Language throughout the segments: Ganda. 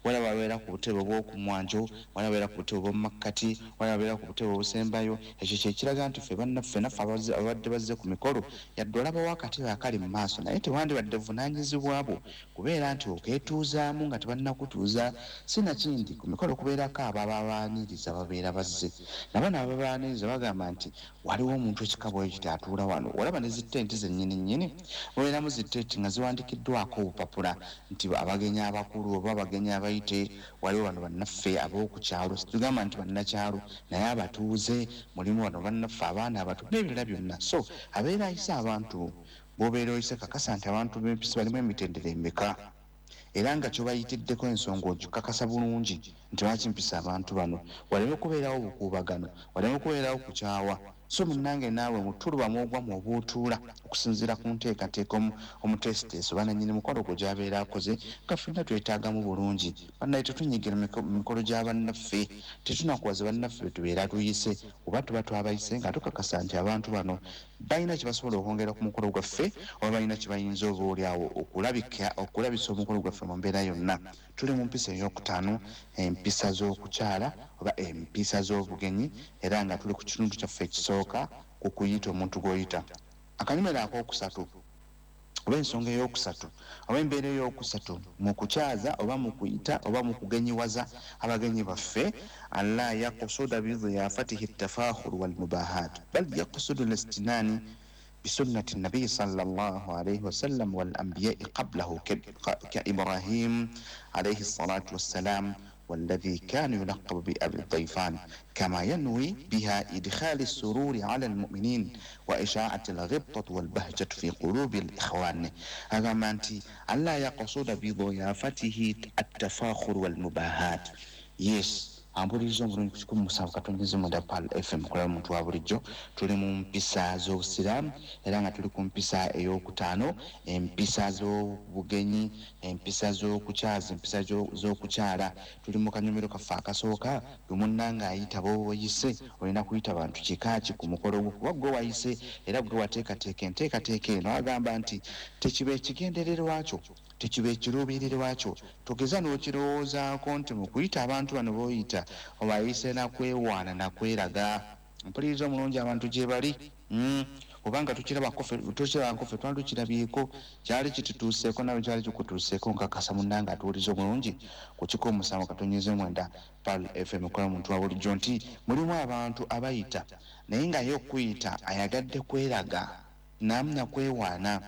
Waliwo ababeera ku butebe obw'okumwanjo, waliwo ababeera ku butebe obw'omu makkati, waliwo ababeera ku butebe obusembayo. Ekyo kye kiraga nti ffe bannaffe naffe abadde bazze ku mikolo, yadde olabawo akatebe akali mu maaso, naye tewandibadde buvunaanyizibwa bwo kubeera nti okeetuuzaamu nga tebannakutuuza. Sinakindi ku mikolo kubeerako abo ababaaniriza babeera bazze, nabo ababaaniriza bagamba nti waliwo omuntu ekika bwe kiti atuula wano. Olaba ne zitenti zennyini nnyini mubeeramu zitenti nga ziwandikiddwako obupapula nti abagenyi abakulu oba abagenyi abayite, waliwo bano bannaffe ab'oku kyalo, tugamba nti bannakyalo naye abatuuze, mulimu bano bannaffe abaana abato n'ebirala byonna. So abeera ayise abantu, bw'obeera oyise kakasa nti abantu b'empisa balimu emitendera emeka, era nga kyobayitiddeko ensonga ogikakasa bulungi nti lwaki mpisa abantu bano, waleme kubeerawo obukuubagano, waleme kubeerawo kukyawa. So munnange naawe mutuluba mwogwa mwoba otuula okusinziira ku nteekateeka omuteesiteesi oba nannyini mukolo gwo gy'abeera akoze, nga ffenna twetaagamu bulungi. Bannaye tetunyigira mu mikolo gya bannaffe, tetunakuwaza bannaffe be tubeera tuyise, oba tuba twabayise nga tukakasa nti abantu bano balina kye basobola okwongera ku mukolo gwaffe, oba balina kye bayinza oba oliawo okulabisa omukolo gwaffe mu mbeera yonna. Tuli mu mpisa eyokutaano, empisa z'okukyala oba empisa z'obugenyi, era nga tuli ku kitundu kyaffe ekisooka ku kuyita omuntu gw'oyita. Akanyomero akokusatu oba ensonga eyokusatu oba embeera eyokusatu mu kukyaza oba mu kuyita oba mu kugenyiwaza abagenyi baffe, alla yakusuda bidiyafatihi tafakhuru walmubahat, bal yakusudu listinani bisunnati nabiyi sallallahu alaihi wasallam wal anbiyai qablahu ka Ibrahim alaihi salatu wassalam والذي كان يلقب بأبي الضيفان، كما ينوي بها إدخال السرور على المؤمنين وإشاعة الغبطة والبهجة في قلوب الإخوان. هذا أنت ألا يقصد بضيافته التفاخر والمباهات. Yes, ampuliriza omulungi ku 107.9 Pal FM kulaba muntu wa bulijjo. Tuli mu mpisa z'obusiraamu era nga tuli ku mpisa eyokutaano, empisa z'obugenyi, empisa z'okukyaza, empisa z'okukyala. Tuli mu kanyomero kaffe akasooka. Gwe munnanga ayita b'oyise, olina kuyita bantu kikaaki ku mukolo gwo? Kuba gwe wayise era gwe wateekateeka enteekateeka eno. Agamba nti tekiba ekigendererwa kyo, tekiba ekiruubirirwa kyo, togeza n'okirowoozaako nti mu kuyita abantu bano b'oyita obayise nakwewaana nakweraga. Mpuliriza omulungi, abantu gye bali, obanga tukirabako ffe, twali tukirabyeko, kyali kitutuuseeko, nawe kyali kikutuuseeko. Nkakasa munnanga atuwuliza omulungi ku 107.9 Pal FM kola muntu wa bulijjo nti mulimu abantu abayita naye nga ye okuyita ayagadde kweraga, namu nakwewaana,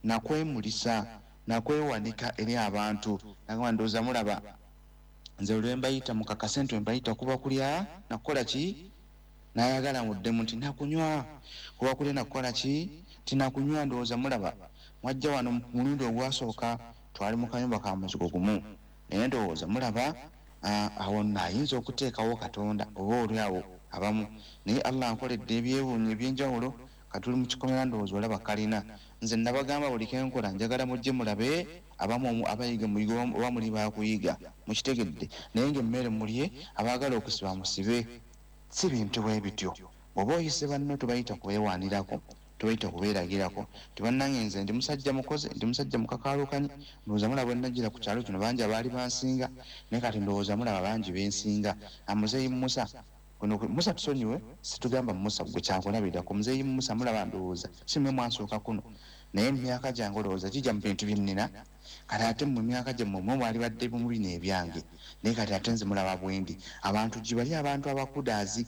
nakwemulisa, nakwewanika eri abantu. Nagamba ndowooza mulaba nze lwe mbayita, mukakase nti mbayita kuba kulya nakukola ki, nayagala muddemu nti nakunywa. Kuba kulya nakukola ki, nti nakunywa. Ndowooza mulaba mwajja wano mu mulundi ogwasooka, twali mu kayumba ka muzigo gumu, naye ndowooza mulaba awo nno ayinza okuteekawo Katonda oba oli awo abamu, naye Allah nkoledde ebyewuunyo ebyenjawulo. Katuli mu kikomera, ndowooza olaba kalina. Nze nabagamba buli kenkola njagala mujje mulabe, abamu abayiga muyiga oba muli bakuyiga mukitegedde, naye nga emmere mulye, abaagala okusiba musibe. Si bintu bwe bityo. Bw'oba oyise banno, tubayita kubeewaanirako, tubayita kubeeragirako tibannange nze ndi musajja mukozi, ndi musajja mukakaalukanyi. Ndowooza mulaba bwe najjira ku kyalo kino bangi abaali bansinga, naye kati ndowooza mulaba bangi bensinga. Amuzeeyi Musa kuno, Musa tusonyiwe, situgamba Musa gwe kyakulabirako. Muzeeyi Musa mulaba, ndowooza si mmwe mwansooka kuno, naye emyaka gyange olowooza gijja mu bintu byennina. Kati ate mu myaka gyammwe mwe mwali badde mu bino ebyange, naye kati ate nze mulaba bwendi. Abantu gye bali, abantu abakudaazi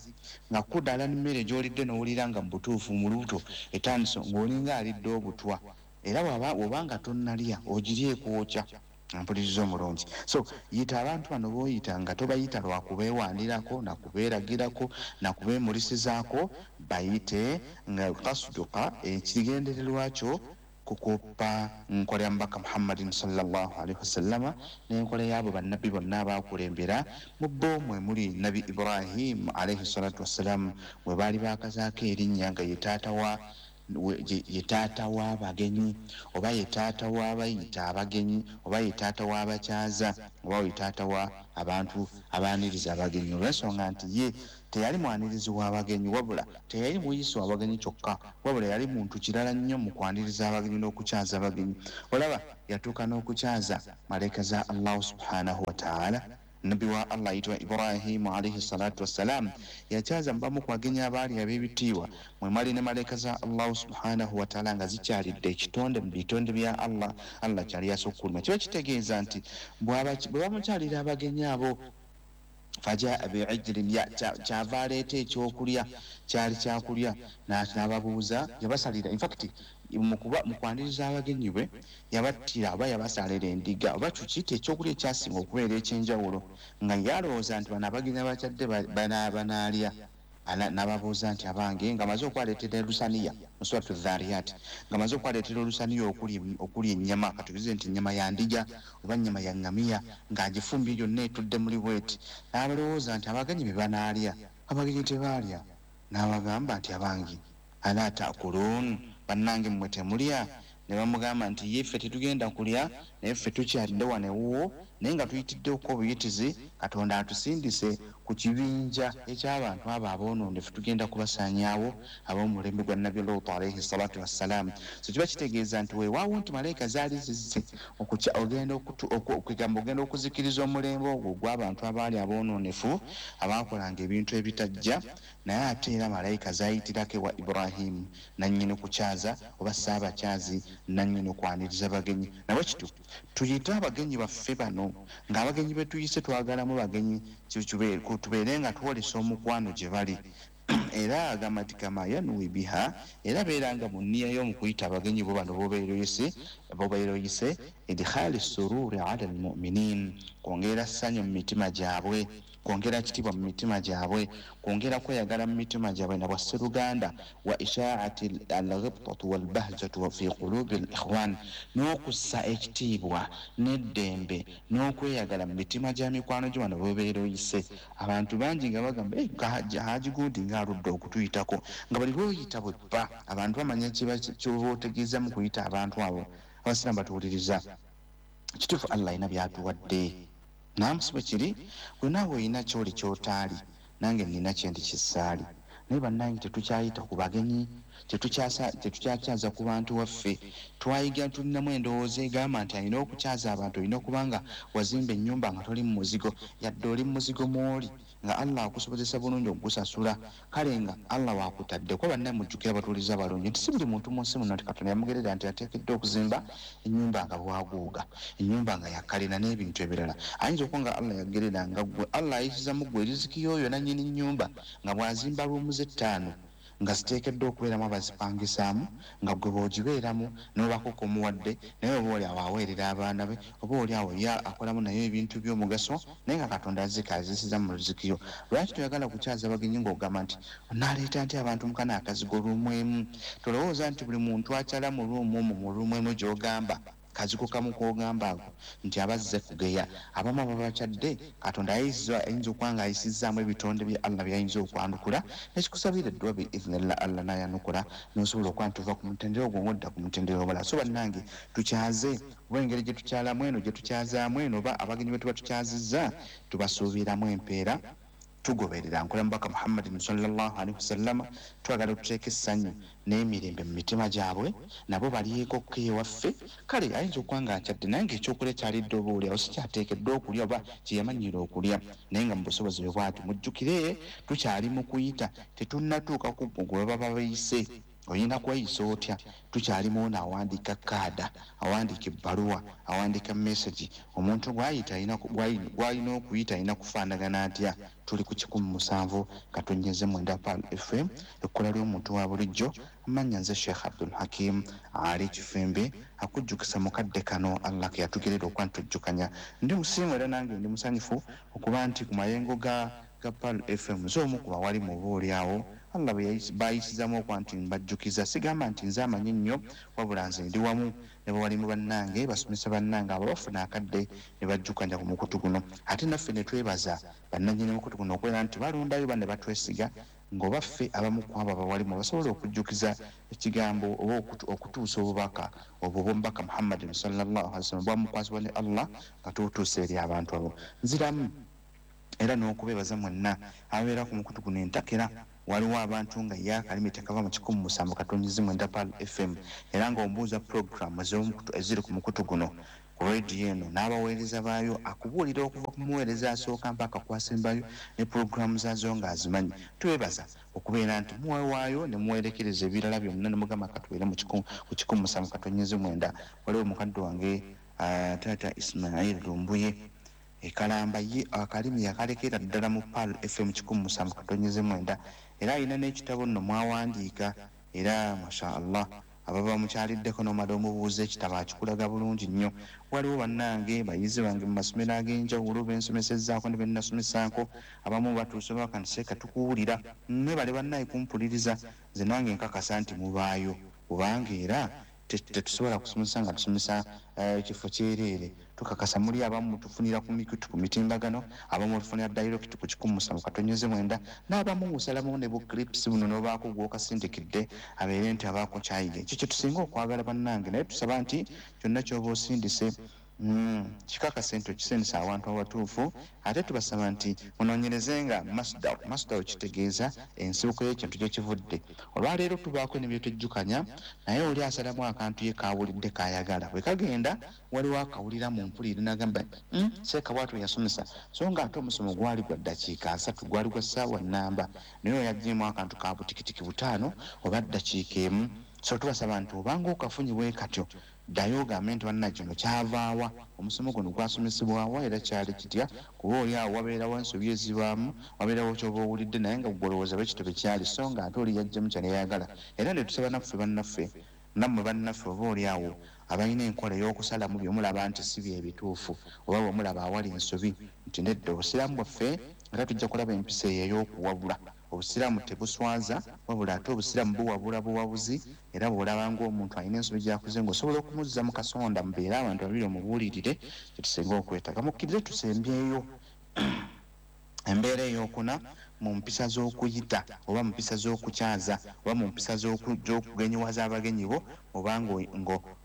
nga kudaala n'emmere gy'olidde n'owulira nga mu butuufu mu lubuto etandise ng'olinga alidde obutwa, era bw'oba nga tonnalya ogirya ekwokya. Mpuliriza omulungi, so yita abantu bano b'oyita nga tobayita lwakubeewaanirako, nakubeeragirako, nakubeemulisizaako. Bayite nga kasuduka ekigendererwa kyo kukopa nkola ya Mubaka Muhammadin sallallahu alaihi wasallama n'enkola yaabo bannabbi bonna abakulembera. Mu bo mwe muli Nabi Ibrahim alaihi salatu wassalamu, mwe baali bakazaako erinnya nga ye taata wa Ye taata w'abagenyi, oba ye taata w'abayita abagenyi, oba ye taata w'abakyaza, oba ye taata wa abantu abaaniriza abagenyi, olw'ensonga nti ye teyali mwanirizi w'abagenyi, wabula teyali muyisi w'abagenyi kyokka, wabula yali muntu kirala nnyo mu kwaniriza abagenyi n'okukyaza abagenyi. Olaba yatuuka n'okukyaza malaika za Allahu subhanahu wa ta'ala. Nabbi wa Allah ayitibwa Ibrahimu alaihi salatu wassalam yakyaza mubamu ku bagenyi abaali ab'ebitiibwa, mwe mwali ne malaika za Allahu subhanahu wa ta'ala nga zikyalidde ekitonde mu bitonde bya Allah, Allah kyali yasukkuluma. Kiba kitegeeza nti bwe bamukyalira abagenyi abo, fajaa bi'ijlin, kyava aleeta ekyokulya, kyali kyakulya, n'ababuuza, yabasalira. In fact, mu kwaniriza abagenyi bwe yabattira oba yabasalira endiga oba tukiyite ekyokulya ekyasinga okubeera ekyenjawulo, nga yalowooza nti bano abagenyi abakyadde banaalya. N'ababuuza nti abange, nga amaze okwaleetera olusaniya mu Suratu Dhariyat, nga amaze okwaleetera olusaniya okulya ennyama, katubize nti ennyama ya ndiga oba nnyama ya ŋŋamiya, ng'agifumbye yonna etudde muli bweti, n'abalowooza nti abagenyi be banaalya. Abagenyi tebaalya. N'abagamba nti abange, ala taakuluun, bannange mmwe temulya? Ne bamugamba nti ye ffe tetugenda kulya, naye ffe tukyalidde wano ewuwo, naye nga tuyitiddeko obuyitizi, Katonda atusindise ku kibinja eky'abantu abo aboonoone, ffe tugenda kubasaanyaawo ab'omulembe gwa Nabbi Luutu alaihi salatu wassalaamu. So kiba kitegeeza nti weewaawo nti malayika zaali zizze okugamba ogenda okuzikiriza omulembe ogwo ogw'abantu abaali aboononefu abaakolanga ebintu ebitajja, naye ate era malayika zaayitirako ewa Ibrahimu nannyini kukyaza oba ssaabakyazi nannyini kwaniriza bagenyi. Nabwe kityo tuyite abagenyi baffe bano, ng'abagenyi be tuyise twagalamu bagenyi, tubeere nga twolesa omukwano gye bali. Era agamba nti kama yanwi biha, era beeranga mu nniya y'omukuyita abagenyi bo bano bobeera oyise, idkhali sururi ala almuminin, kwongera ssanyu mu mitima gyabwe, kwongera kitiibwa mu mitima gyabwe, kwongera kweyagala mu mitima gyabwe na bwasseruganda, wa ishaati alghibtatu walbahjatu fi qulubi al-ikhwan, n'okussa ekitiibwa n'eddembe n'okweyagala mu mitima gya mikwano gyo bano bobeera oyise. Abantu bangi nga bagamba Haji Gundi ng'aludde okutuyitako, nga bali lwoyita bwe bba abantu bamanya kyoba otegeeza mu kuyita abantu abo. Abasiraamu batuwuliriza, kituufu Allah alina byatuwadde. Namusi bwe kiri, gwe naawe olina kyoli kyotaali, nange nina kyendi kisaali, naye bannange tetukyayita ku bagenyi, tetukyakyaza ku bantu waffe. Twayiga tulinamu endowooza egamba nti alina okukyaza abantu olina okuba nga wazimba ennyumba nga toli mu muzigo, yadde oli mu muzigo mw'oli nga Allah akusobozesa bulungi okugusasula, kale nga Allah wakutadde. Kuba bannaye mujjukira abatuuliza abalungi nti si buli muntu mu nsi muno nti Katonda yamugerera nti ateekeddwa okuzimba ennyumba nga bwaguuga, ennyumba nga yakalina n'ebintu ebirala. Ayinza okuba nga Allah yagerera nga ggwe, Allah ayisiza mu ggwe riziki y'oyo nannyini nnyumba, nga bw'azimba ruumu ze 5 nga ziteekeddwa okubeeramu abazipangisaamu, nga ggwe bw'ogibeeramu n'obaako k'omuwadde, naye oba oli awo aweerera abaana be, oba oli awo ye akolamu naye ebintu by'omugaso, naye nga Katonda azika azisiza mu riziki yo. Lwaki toyagala kukyaza abagenyi ng'ogamba nti onaaleeta nti abantu mu kano akazigo ruumu emu? Tolowooza nti buli muntu akyala mu ruumu omwo, mu ruumu emu gy'ogamba kazigo kamu k'ogamba ako nti abazze kugeya. Abamu ababakyadde Katonda ayinza okuba nga ayisizzaamu ebitonde bya Allah by'ayinza okwanukula, nekikusabira eddwa bi idhnillah Allah n'ayanukula, n'osobola okuba nti ova ku mutendera ogwo ng'odda ku mutendera omulala. So bannange tukyaze, oba engeri gye tukyalamu eno, gye tukyazaamu eno, oba abagenyi be tuba tukyazizza tubasuubiramu empeera, tugoberera nkola Mubaka Muhammadin sallallahu alaihi wasallam, twagala tuteeke essanyu n'emirembe mu mitima gyabwe, nabo balyeko ko ewaffe. Kale ayinza okuba nga akyadde, naye ng'ekyokulya kyalidde oba oli awo si kyateekeddwa okulya oba kye yamanyiira okulya, naye nga mu busobozi bwe bw'atyo. Mujjukire tukyali mu kuyita, tetunnatuuka ku gwe baba bayise. Olina kweyisa otya? Tukyalimu ono awandiika kaada, awandiika ebbaluwa, awandiika message. Omuntu gw'ayita gw'alina okuyita alina kufaanagana atya? Tuli ku 107.9 Pearl FM, ekkola ly'omuntu wa bulijjo. Amannya nze Sheikh Abdul Hakim Ali Kifembe, akujjukisa mu kadde kano Allah ke yatugerera okuba nti tujjukanya. Ndi musiimu era nange ndi musanyufu okuba nti ku mayengo ga ga Pearl FM. Nze omu ku bawalimu oba oli awo Allah bwe bayisizamu okuba nti mbajjukiza. Sigamba nti nze amanyi nnyo, wabula nze ndi wamu ne bawalimu bannange, basomesa bannange abo bafuna akadde ne bajjukanya ku mukutu guno. Ate naffe ne twebaza bannannyini mukutu guno okubeera nti balondayo banne batwesiga ng'oba ffe abamu ku abo abawalimu basobola okujjukiza ekigambo oba okutuusa obubaka obwo obw'omubaka Muhammadin sallallahu alaihi wasallam bwamukwasibwa ne Allah nga tubutuusa eri abantu abo. Nziramu era n'okubeebaza mwenna ababeera ku mukutu guno entakera. Waliwo abantu nga ye akalimi tekava mu 107.9 Pearl FM, era ng'omubuuza pulogulaamu eziri ku mukutu guno ku rediyo eno n'abaweereza baayo, akubuulira okuva ku muweereza asooka mpaka kwasembayo ne pulogulaamu zaazo ng'azimanyi. Twebaza okubeera nti muwewaayo ne muwerekereza ebirala byonna ne mugamba katubeere ku 107.9. Waliwo mukadde wange taata Ismail Lumbuye ekalamba, ye akalimi yakalekera ddala mu Pearl FM 107.9, era alina n'ekitabo nno mwawandiika, era masha Allah ababa mukyaliddeko n'omala omubuuza ekitabo akikulaga bulungi nnyo. Waliwo bannange bayizi bange mu masomero ag'enjawulo bensomesezzaako ne bennasomesaako, abamu batuuse baka nti seeka tukuwulira, mwebale bannaye kumpuliriza, nze nange nkakasa nti mubaayo, kubanga era tetusobola kusomesa nga tusomesa ekifo kyereere. Tukakasa muli abamu mutufunira ku mikutu ku mitimbagano, abamu mutufunira direct ku 107.9, n'abamu musalamu ne bu clips buno n'obaako gw'okasindikidde abeere nti abaako kyayiga. Ekyo kye tusinga okwagala bannange, naye tusaba nti kyonna ky'oba osindise kikakase nti okisindisa awantu awatuufu. Ate tubasaba nti munoonyerezenga masdar. Masdar kitegeeza ensibuko y'ekintu gye kivudde. Olwaleero tubaako ne bye twejjukanya, naye oli asalamu akantu ye kaawulidde k'ayagala. Bwe kagenda waliwo akawulira mu mpulira n'agamba seeka bw'atyo yasomesa, so ng'ate omusomo gwali gwa ddakiika 3, gwali gwa ssaawa nnamba, naye oyo aggyemu akantu ka butikitiki 5 oba ddakiika 1. So tubasaba nti obanga okafunye bwe katyo, ddayo ogambe nti banna kino kyavaawa, omusomo guno gwasomesebwawa era kyali kitya, kuba oli awo wabeerawo ensobi ezibaamu, wabeerawo ky'oba owulidde naye nga ggwe olowooza bwe kityo bwe kyali, so nga ate oli yaggyemu kyali ayagala. Era ne tusaba naffe bannaffe, nammwe bannaffe oba oli awo abalina enkola ey'okusalamu bye mulaba nti si bye bituufu, oba bwe mulaba awali ensobi nti nedda, obusiraamu bwaffe era tujja kulaba empisa eyo ey'okuwabula. Obusiraamu tebuswaza, wabula ate obusiraamu buwabula buwabuzi, era bw'olaba ng'omuntu alina ensobi gy'akoze ng'osobola okumuzza mu kasonda, mubeere abantu babiri omubuulirire kye tusinga okwetaaga. Mukkirize tusembyeyo embeera ey'okuna mu mpisa z'okuyita oba mu mpisa z'okukyaza oba mu mpisa z'okugenyiwaza abagenyi bo, oba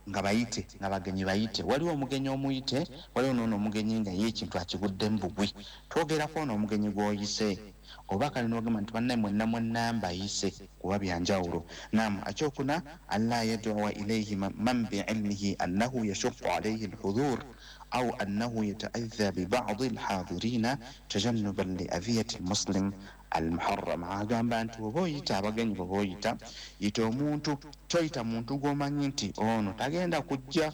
nga bayite, nga bagenyi bayite. Waliwo omugenyi omuyite, waliwo n'ono omugenyi nga ye ekintu akiguddemu bugwi. Twogerako ono omugenyi gw'oyise, oba kale n'ogamba nti bannaye mwenna mwenna mbayise, kuba bya njawulo. Naam, ekyokuna alla yad'uwa ilayhi man bi'ilmihi annahu yashuqqu alayhi al-hudhur aw annahu yata'adha bi ba'di al-hadirina tajannuban li adhiyati al-muslim al-muharram. Agamba nti oba oyita abagenyi bw'oba oyita, yita omuntu, toyita muntu gw'omanyi nti ono tagenda kujja.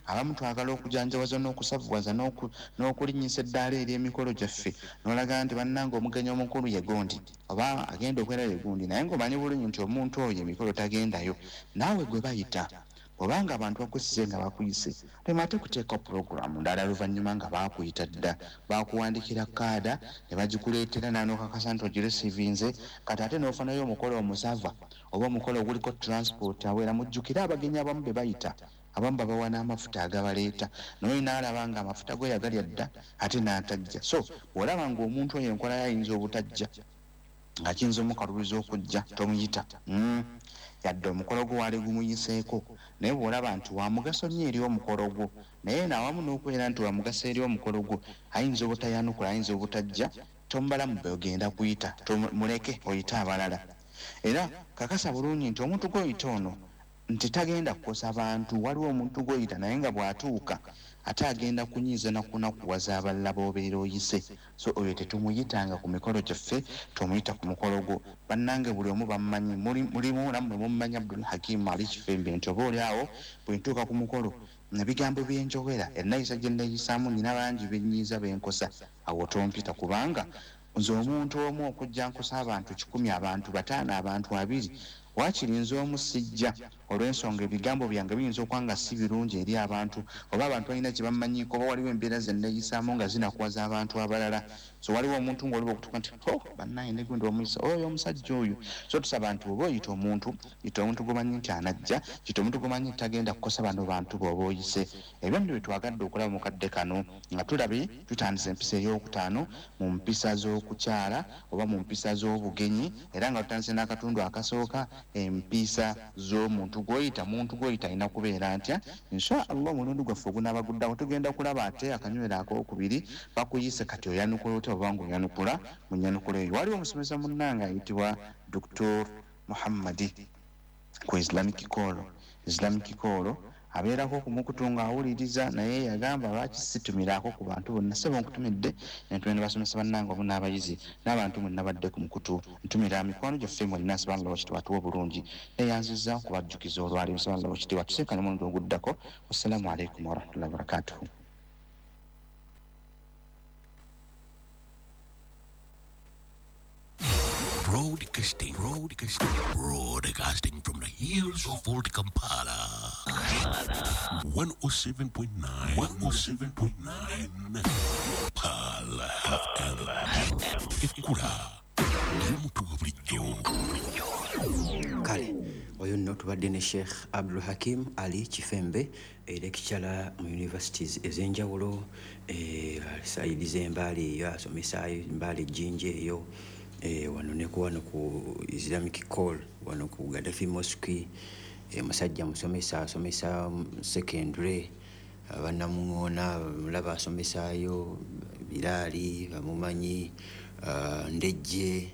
Abamu twagala okujanjawaza n'okusavuwaza n'okulinnyisa eddaala ery'emikolo gyaffe, n'olaga nti bannange omugenyi omukulu ye gundi oba agenda okubeera ye gundi, naye ng'omanyi bulungi nti omuntu oyo emikolo tagendayo. Naawe gwe bayita, obanga abantu bakusize nga bakuyise, lema ate kuteeka pulogulaamu ndala luvannyuma nga baakuyita dda, baakuwandikira kaada ne bagikuleetera n'anokakasa nti ogiresiivinze, kati ate n'ofunayo omukolo omusava oba omukolo oguliko transport awera. Mujjukire abagenyi abamu be bayita, abamu babawa n'amafuta agabaleeta, naye n'alaba nga amafuta go yagalya dda ate n'atajja. So bw'olaba ng'omuntu oyo enkola ye ayinza obutajja, nga kiyinza omukalubiza okujja, tomuyita. Yadde omukolo gwo waali gumuyiseeko, naye bw'olaba nti wa mugaso nnyo eri omukolo gwo, naye n'awamu n'okubeera nti wa mugaso eri omukolo gwo, ayinza obutayanukula, ayinza obutajja, tomubalamu be ogenda kuyita, muleke oyite abalala. Era kakasa bulungi nti omuntu gw'oyita ono nti tagenda kukosa bantu. Waliwo omuntu gw'oyita naye nga bw'atuuka ate agenda kunyiiza na kunakuwaza abalala b'obeera oyise. So oyo tetumuyitanga ku mikolo gyaffe, tumuyita ku mukolo gwo. Bannange buli omu bammanyi, mulimu nammwe mummanyi Abdul Hakim Ali Kifembe, nti oba oli awo bwe ntuuka ku mukolo ebigambo bye njogera, ennayisa gye nneeyisaamu, nnina bangi be nnyiiza be nkosa, awo tompita, kubanga nze omuntu omu okujja nkosa abantu 100, abantu 5, abantu 20, waakiri nze omu sijja. Olw'ensonga ebigambo byange biyinza okuba nga si birungi eri abantu, oba abantu balina kye bamanyiiko, oba waliwo embeera ze nneeyisaamu nga zinakuwaza abantu abalala. So waliwo omuntu ng'oliba okutuuka nti oh bannaye ne gundi omuyisa oyo omusajja oyo. So tusaba nti oba oyita omuntu, yita omuntu gw'omanyi nti anajja, yita omuntu gw'omanyi nti tagenda kukosa bano bantu b'oba oyise. Ebyo nno bye twagadde okulaba mu kadde kano nga tulabye tutandise empisa ey'okutaano mu mpisa z'okukyala oba mu mpisa z'obugenyi, era nga tutandise n'akatundu akasooka, empisa z'omuntu gw'oyita. Muntu gw'oyita alina kubeera ntya? Insha Allah omulundi gwaffe ogunaaba guddako tugenda kulaba ate akanywero akookubiri bakuyise kati oyanukula otya oba ng'oyanukula mu nnyanukula eyo. Waliwo omusomesa munnange ayitibwa Dr. Muhammadi ku Islamic Call. Islamic Call abeerako ku mukutu ng'awuliriza, naye yagamba lwaki situmiraako ku bantu bonna. Ssebo nkutumidde, ntumira ne basomesa bannange wamu n'abayizi n'abantu mwenna badde ku mukutu. Ntumira mikwano gyaffe mwenna, nsaba Allah Owekitiibwa atuwe obulungi. Neeyanzizza okubajjukiza olwaleero, nsaba Allah Owekitiibwa atusinkane omulundi oguddako. Wassalaamu alaikum warahmatullahi wabarakatuhu. Broadcasting, broadcasting, broadcasting from the hills of Old Kampala. 107.9, 107.9. Pearl FM. Ekura. Y'omuntu wa bulijjo. Kale oyo nno tubadde ne Sheikh Abdul Hakim Ali Kifembe, lecturer mu universities ez'enjawulo, side z'Embaale eyo asomesaayo, Embaale Jjinja eyo, wano ne ku wano ku Islamic Call wano ku Gaddafi Mosque. Musajja musomesa, asomesa secondary, abannamuŋoona mulaba asomesaayo, Biraali bamumanyi, Ndejje,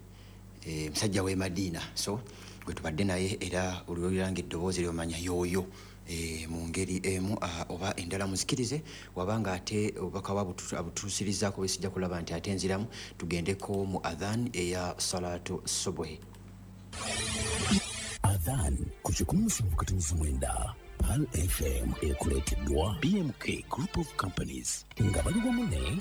musajja w'e Madiina. So gwe tubadde naye, era olwoliranga eddoboozi lyomanya yooyo mu ngeri emu oba endala. Muzikirize wabanga ate obubaka abutuusirizaako bwe sijja kulaba nti ate nziramu tugendeko mu adhan eya salatu subuhi. Adhan ku 107.9 Pearl FM ekuleeteddwa BMK Group of Companies nga bali wamu ne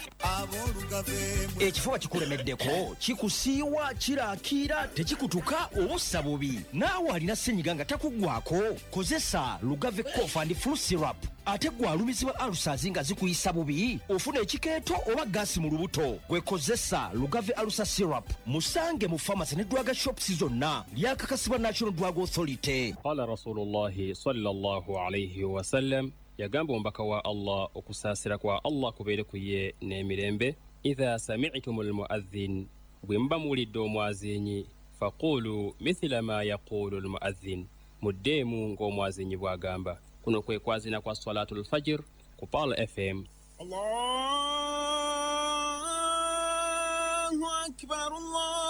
Ekifuba kikulemeddeko, kikusiiwa, kiraakiira, tekikutuka, obussa bubi, naawe alina ssenyiga nga takuggwako, kozesa Lugave Cough and Flu Syrup. Ate gwe alumizibwa ulcers nga zikuyisa bubi, ofuna ekikeeto oba gaasi mu lubuto, gwe kozesa Lugave Ulcer Syrup. Musange mu pharmacy ne drug shops zonna. Lyakakasibwa National Drug Authority. Qala Rasulullahi sallallahu alaihi wasallam, yagamba omubaka wa Allah, okusaasira kwa Allah kubeere ku ye n'emirembe, idha sami'tum almuadhin, bwe muba muwulidde omwazinyi, faqulu mithila ma yaqulu almuadhin, muddeemu ng'omwazinyi bw'agamba. Kuno kwe kwazina kwa salatu lfajir ku Pearl FM. Allahu akbar, Allah.